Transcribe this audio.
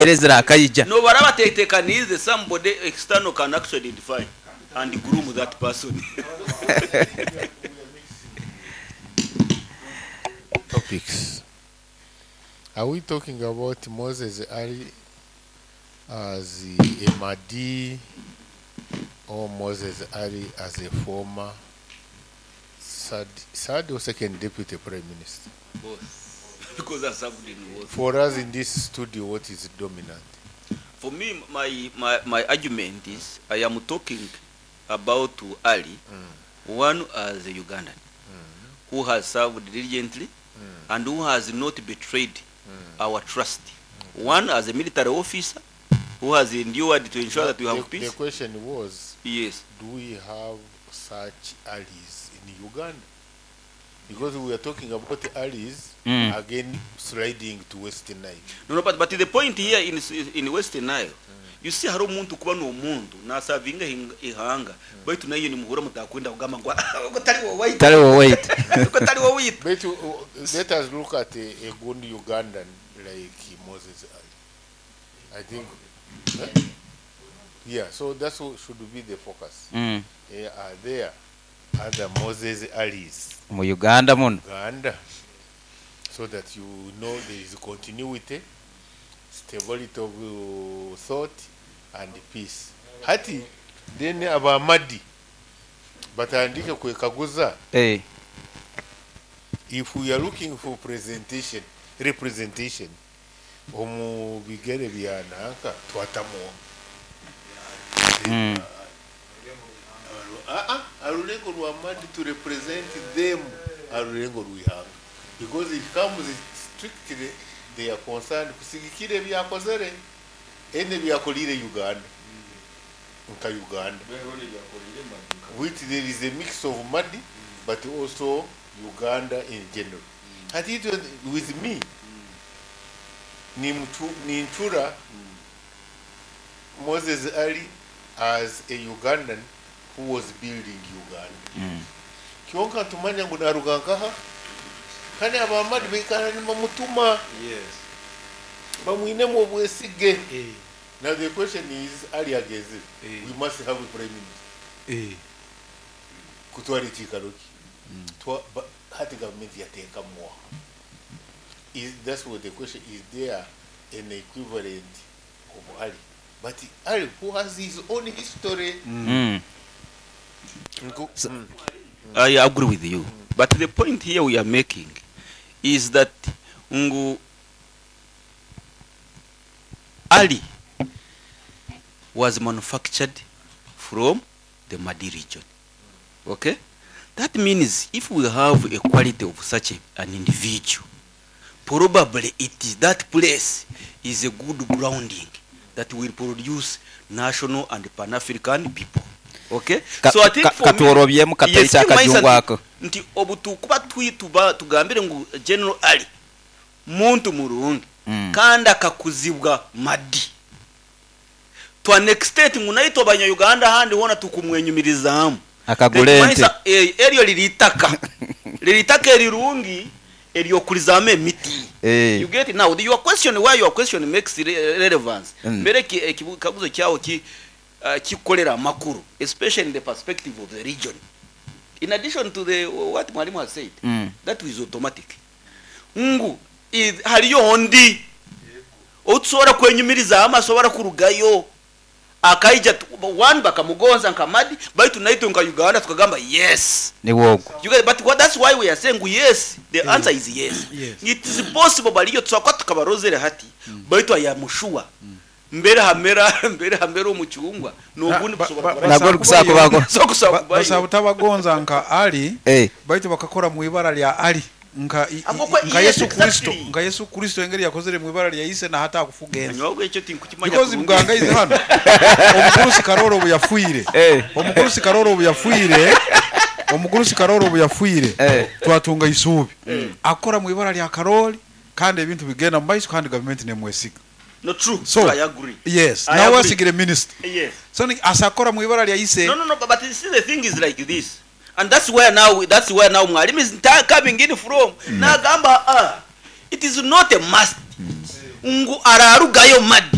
Embera ezirakaija. Nobaraba tetekaniize, somebody external can actually identify and groom that person. Topics. Are we talking about Moses Ali as a Mahdi or Moses Ali as a former third or second deputy prime minister? Both. Because I served in both. For us in this studio, what is dominant? For me, my argument is I am talking about Ali, one as a Ugandan who has served diligently and who has not betrayed our trust. One as a military officer who has endured to ensure that we have The peace. Question was, Yes. do we have such allies in Uganda? Because we are talking about the allies again sliding to Western Nile. No, but the point here in Western Nile, you see, hari omuntu kuba n'omuntu nasavinga ihanga, baitu nayo nimuhura mutakwenda kugamba ngu "Ah, tali wowe." Tali wowe. Tali wowe. But let us look at a good Ugandan like Moses Ali. I think, huh? Yeah, so that's what should be the focus. Are there other Moses Alis Mu Uganda muno? Uganda? So that you know there is continuity, stability of thought, and peace. Hati, then abamadi batandike kwekaguza if we are looking for presentation, representation omu bigere bya nanka twatamu. Ah, ah, arulengo lwa Madi to represent them, arulengo lwihanga, because it comes strictly they are concerned kusigikira ebyakozere ene byakolire Uganda nka Uganda, which there is a mix of Madi but also Uganda in general. Hati itwe, with me nintura Moses Ali as a Ugandan who was building Uganda. Kyonka tumanya ngu naruga nkaha, kandi abamadi baikara nibamutuma bamwinemu obwesige. Now the question is, Ali ageze, we must have a prime minister kutwara ekiikaro ki. Hati gavumenti yateekamuwa? Is that's what the question is, there an equivalent of Ali, but Ali who has his own history? I agree with you. But the point here we are making is that ngu Ali was manufactured from the Madi region. Okay? That means if we have a quality of such an individual, probably it is that place is a good grounding that will produce national and Pan-African people. Okay? So I think for me, Katworobyemu kataita Yes, kimanyisa akajungu ako. Nti obutukuba twituba tugambire ngu General Ali muntu murungi kandi akakuzibwa Madi to an extent ngu naitwe abanya-Uganda handi hona tukumwenyumirizaamu. Akagula ente. Tekimanyisa, eryo liri itaka, liri itaka erirungi eryokulizamu emiti. You get it? Now your question, why your question makes relevance, mbere ekikaguzo kyawo ki kikolera amakuru, especially in the perspective of the region, in addition to the what mwalimu has said, that is automatic ngu haliyo ondi otusobola kwenyumirizamu asobora kurugayo akaija one bakamugonza nka Madi, baitu naitwe nka Uganda tukagamba yes. Ni wogo. You get, but what, that's why we are saying yes, the answer is yes. It is possible baliyo tusakwa tukabarozere hati, baitu ayamushua mbere hamera, mbere hamera omucyungwa nogundi kusobora Nagwo kusako So kusaba kubayo. Basaba butabagonza nka Ali, baitu bakakora mu ibara lya Ali nka nka Yesu Kristo, nka Yesu Kristo engeri yakozere mu ibara lya ise na hata akufuga ensi. Nyogo ekyo tinkukimanya Because kurungi. muganga ize hano, omugurusi Karoro obu yafuire, omugurusi Karoro obu yafuire, omugurusi Karoro obu yafuire, twatunga isuubi akora mu ibara lya Karoli, kandi ebintu bigenda mu maiso, kandi gavumenti nemwesiga. No, true. So I agree. Yes. I Nawe agree. asigire minister. Yes. So asakora mu ibara lya ise. No, but you see, the thing is like this, and that's where now mwalimu is coming in from. Nagamba, ah, it is not a must ngu ararugayo Madi.